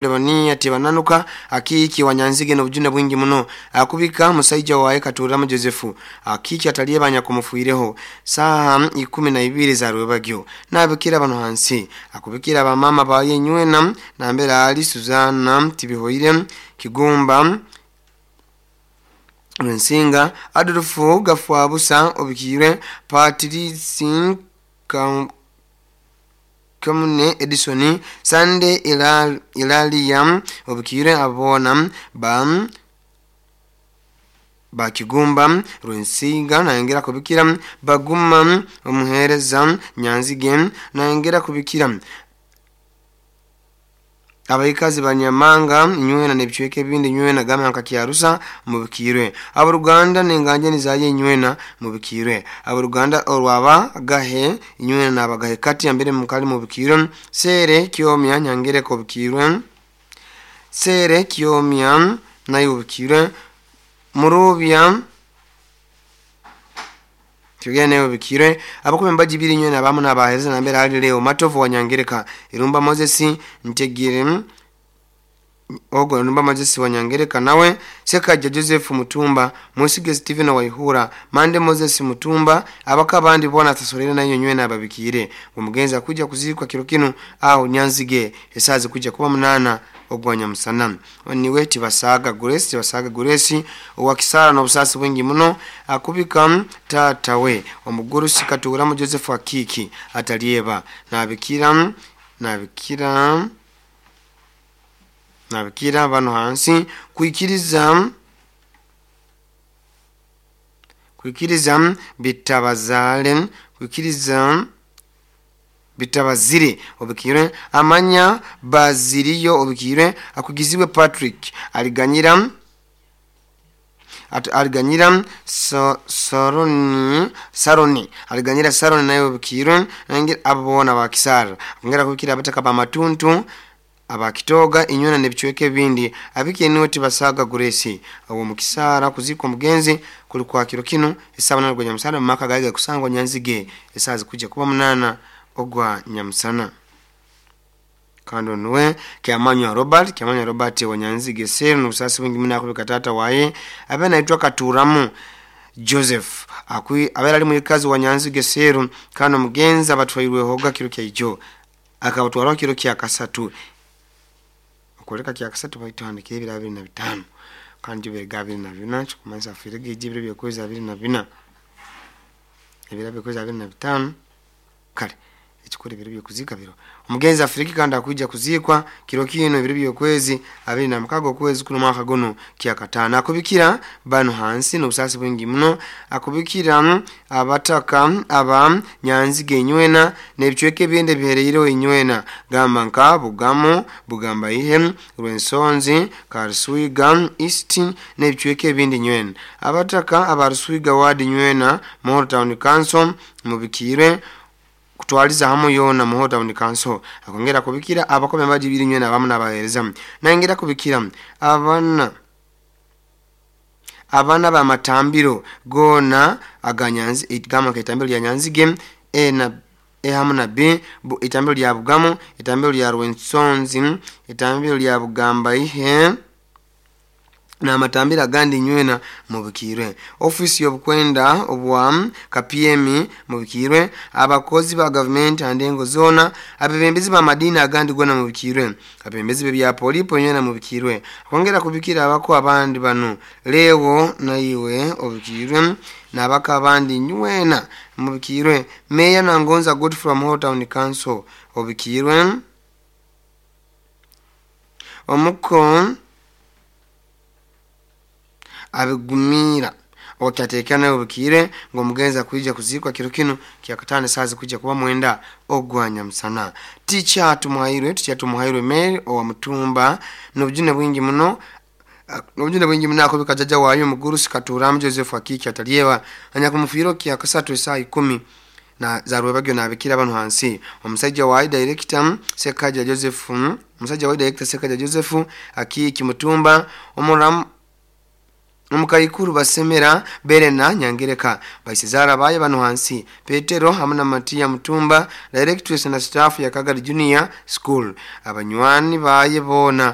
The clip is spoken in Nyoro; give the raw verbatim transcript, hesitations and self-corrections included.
Lebania tibananuka Akiki wanyanzige n'obujune bwingi muno akubika musaija waye Katuramo Joseph Akiki ataliebanya kumufuireho saha ikumi na ibiri za rwebagyo nabikira bano hansi akubikira abamama baye nywena nambera ali Suzana Tibihoire Kigumba Nsinga Adolfo Gafwabusa obikire Patrice Kamune Edison Sande Ilal, Ilalia obikire abona ba bakigumba Rwensinga nayongera kubikira baguma omuhereza Nyanzige nayongera kubikira abaikazi banyamanga nywena nebichweke bindi nywena gama nkakyarusa mubikirwe abaruganda nenganje nizaye nywena mubikirwe abaruganda orwaba gahe nywena nabagahe kati ambere mukali mubikirwe sere kyomya nyangere ko bikirwe sere kyomya nayo bikirwe murubya Tugene ubikire abakume mbaji biri nywena abamu nabaheza nambere hali leo matovu wanyangereka Irumba Moses Ntegire Ogo Irumba Moses wanyangereka nawe Sekaja Joseph Mutumba Musige Stephen Waihura Mande Moses Mutumba abaka bandi bona tasolera nayo nywena ababikire umugenza kuja kuzikwa kiro kinu au Nyanzige esazi kuja kuba munana ogwanya musana niwe Tibasaga Grace Tibasaga Grace owakisara n'obusasi bwingi muno akubika tata we omugurusi Katuramo Joseph Akiki atalieba nabikira nabikira nabikira bano hansi kuikiriza kuikiriza bitabazale kuikiriza bitabazire obikire amanya baziriyo obikire akugizibwe Patrick aliganyira at, aliganyira so, soroni saroni aliganyira saroni nayo obikire nangira abona bakisara ngera kubikira abataka ba matuntu abakitoga inyona nebichweke bindi abike niwe Tibasaga Grace abo mukisara kuzikwa mugenzi kulikuwa kiro kino esaba na rwenya musana maka gaiga kusangwa Nyanzige esazi kuja kuba munana ogwa nyamusana kando nuwe Kyamanywa Robert Kyamanywa Robert wa Nyanzige seru n'obusasi bwingi muna akubika tata waye abe naitwa Katuramu Joseph akwi abera ali mukazi wa Nyanzige seru kano mugenzi abatwairwe hoga kiro kya ijo akabatwara kiro kya kasatu okoleka kya kasatu baitandikira ebiro abiri na bitano kandi bega abiri na bina kikumanisa afirege ejibiro byokwezi abiri na bina ebiro byokwezi abiri na bitano kale ekikora ebiro byokuzika biro omugenzi afiriki kandi akuja kuzikwa kiro kino ebiro byokwezi abiri na mukago okwezi kuno mwaka guno kyakatano akubikira bano hansi n'obusasi bwingi muno akubikira abataka aba Nyanzige nywena n'ebichweke bindi bihereireho inywena gamba nka Bugamo Bugamba ihe Rwensonzi Karuswiga East n'ebichweke bindi nywena abataka aba Ruswiga ward nywena Muhoro Town Council mubikire kutwaliza hamu yona Muhoro Town Council akongera kubikira abakome mbaji biri nywena abamu nabahereza nangera kubikira abana abana ba matambiro gona aganyanzi igama kitambiro lya Nyanzige e na e hamu na b bu, itambiro lya Bugamo itambiro lya Rwensonzi itambiro lya Bugamba ihe na matambira gandi nywena mubikirwe ofisi yobukwenda obwa K P M mubikirwe abakozi ba government andengo zona abebembezi ba madini agandi gona mubikirwe abebembezi bya polipo nywena mubikirwe kongera kubikira abako abandi bano leo na iwe obikirwe nabaka abandi nywena mubikirwe meya na Ngonza Godfrey Muhoro Town Council obikirwe omuko abigumira okyatekana obukire ngo mugenza kuija kuzikwa kiro kino kyakatano sazi kuja kuba mwenda ogwanya musana ticha tumuhairwe ticha tumuhairwe Mary owa Mutumba n'obujune bwingi muno n'obujune bwingi muno akubika jaja wayo mugurusi Katuramu Joseph Akiki atalieba anyakumufiro kyakasatu saa ikumi na zarwebagyo nabikira bano hansi omusajja wa director Sekaja Joseph omusajja wa director Sekaja Joseph Akiki Mutumba omuramu Omukaikuru Basemera Berena Nyangereka, baisezara baye bano hansi Petero hamu na Matiya Mutumba, directress na staff ya Kagadi Junior School, abanywani baye boona.